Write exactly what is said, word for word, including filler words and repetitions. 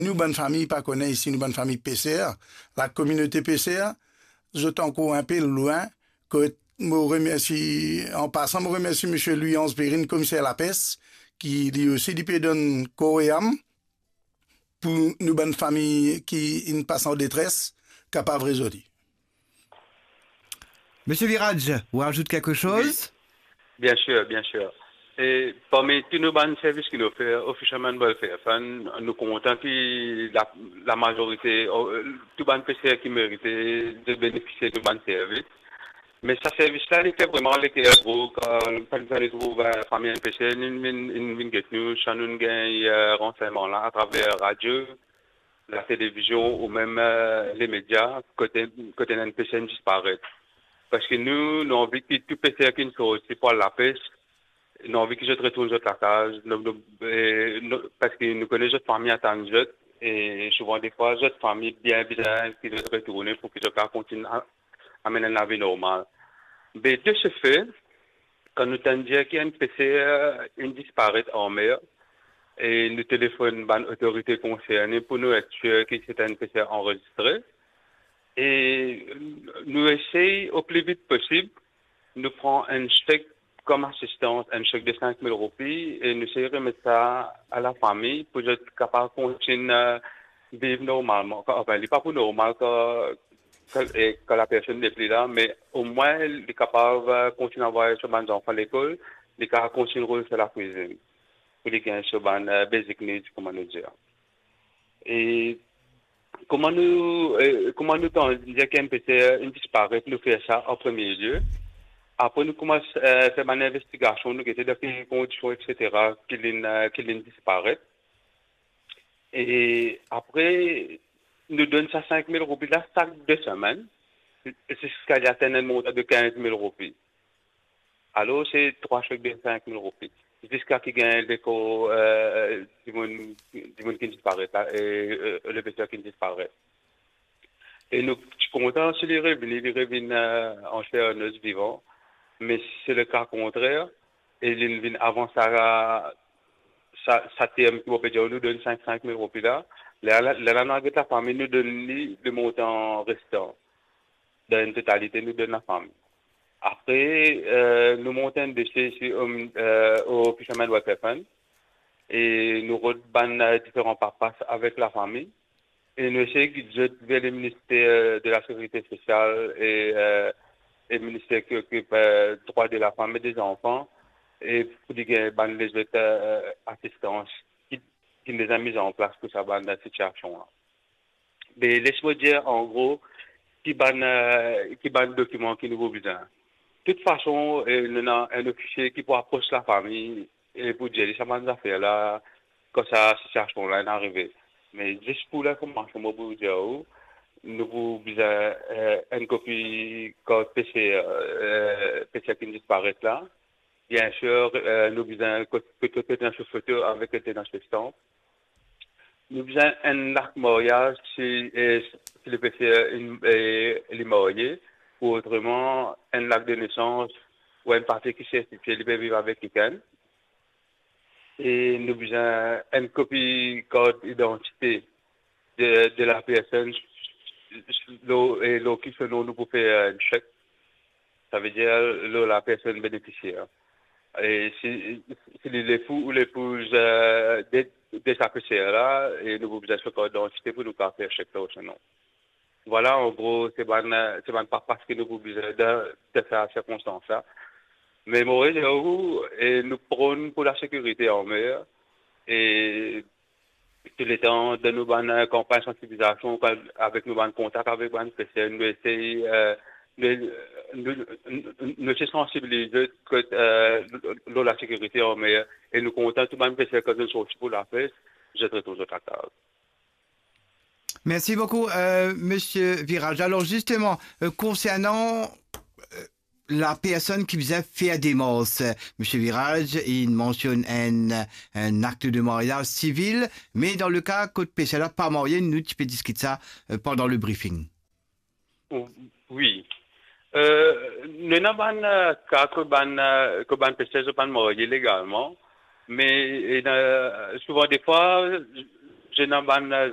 nou bann fami pa kone isi, nou bann fami peser, lakominote peser, zot ankor inpe lwin, kot mo remersi, an pasan, mo remersi Msye Louis Ange Perrine, komiser lapes, ki li osi li pe donn kor e am pou nou bann fami ki inn pas an detres, kapav rezoli. Monsieur Virage, vous rajoutez quelque chose ? Bien sûr, bien sûr. E parmi tou nou bann servis ki nou ofer, o Fisherman Welfare Fund, nou kontan ki la, lamazorite, o, tou bann peser ki merite de benefisie de bann servis. Me sa servis la, li fer vreman leker gro, kan, kan nou trouv, eh, fami enn peser, nou vinn, nou vinn get nou, sa nou gagn, eh, ransegnman la atraver radio, latelevizion ou mem, eh, lemedia, kot, kot enn peser inn disparet. Parski nou, nou anvi ki tou peser ki sorti pou al lapes, nou anvi ki zot retourn zot lakaz, nou, nou, eh, nou, parski nou kone zot fami atann zot, e souvan defwa zot fami bien bizin ki zot retourne pou ki zot kapav kontign a-, amenn enn lavi normal. Be de se fe, kan nou tann dir ki enn peser inn disparet anmer, e nou telefonn bann otorite konserne pou nou et sir ki se enn peser anrezistre, e nou esey o pli vit posib, nou pran enn sek kom asistans, enn sek de sink mil roupi, e nou esey remet sa a lafami pou zot kapav kontign, eh, viv normalman. Kan, anfin, li pa pou normal kan, kan, eh, kan lapersonn nepli la, me omwin li kapav, eh, kontign anvway so bann zanfan lekol, li kapav kontign rod so lakwizinn, pou li gagn so bann, eh, basic needs, kouma nou dir. E kouma nou, eh, kouma nou tann dir ki enn peser inn disparet, nou fer sa an premie lie. Apre nou koumans, eh, fer bann investigasion, nou gete dan ki kondision, et cetera, ki linn, eh, ki linn disparet. E apre, nou donn sa sink mil roupi la sak de semenn, ziska li atenn enn montan de kinz mil roupi. Alor, se trwa sek de sink mil roupi. Ziska ki gagn lekor, eh, dimoun, dimoun ki disparet la, e, eh, le peser ki disparet. E nou ti kontan si li revini, li revinn, eh, an ser, an os vivan. Me si se leka kontrer, e li vinn avan sa, sa, sa term ki mo pe dir nou donn sink, sink mil roupi la, lerla, lerla nou al get lafami, nou donn li le montan restan. Dan enn totalite, nou donn lafami. Apre, eh, nou mont enn dosie isi, eh, o Fisherman Welfare Fund, e nou rod bann, eh, diferan papas avek lafami, e nou esey gid zot ver le Minister de la Sécurité Sociale e, eh, e Minister ki okip, eh, drwa de lafam e de zanfan, e pou li gagn bann lezot, eh, asistans ki, ki deza miz an plas pou sa bann sitiasion la. Me les mo dir, an gro, ki bann, eh, ki bann dokiman ki nou pou bizin. Toutfason, eh, nou ena enn ofisie ki pou apros lafami e pou dir li sa bann zafer la, kan sa sitiasion la inn arive. Me zis pou linformasion, mo pou dir ou, nou pou bizin, eh, enn kopi kart peser, eh, peser ki disparet la. Bien sir, eh, nou bizin kot, kot, kot, kot ena so foto avek kot ena so stamp. Nou bizin enn lak maryaz si, eh, si le peser, eh, li marye, ou otreman enn lak de nesans ou enn papie ki sertifie li pe viv avek kikenn. E nou bizin enn kopi kart idantite de, de lapersonn lor, e lor ki so non nou pou fer enn sek. Savedir lor lapersonn benefisier. E si, si li lepou ou lepouz, eh, de, de sa peser la, e nou pou bizin so kart idantite pou nou kapav fer sek la lor so non. Vwala, an gro, se bann, se bann papas ki nou pou bizin dan, dan sa sirkonstans la. Me mo redir ou, e nou pran pou lasekirite anmer, e touletan dan nou bann, eh, kanpagn sansibilizasion, kan, avek nou bann kontak avek bann peser, nou esey, eh, nou, nou, nou, nou esey sansibiliz zot kot, eh, lor lasekirite anmer, e nou kontan tou bann peser kan zot sorti pou lapes, zot retourn zot lakaz. Merci beaucoup, euh, Monsieur Virage. Alors justement, euh, concernant, euh, la personne qui vient faire démarche, euh, Monsieur Virage, il mentionne un, un acte de mariage civil, mais dans le cas kot peser la pa marye, nou ti pe diskit sa, euh, pendant le briefing. Wi. Euh, nou ena bann, euh, ka kot bann, euh, kot bann peser zot pa marye legalman, me, e, euh, souvan defwa, zot ena bann, euh,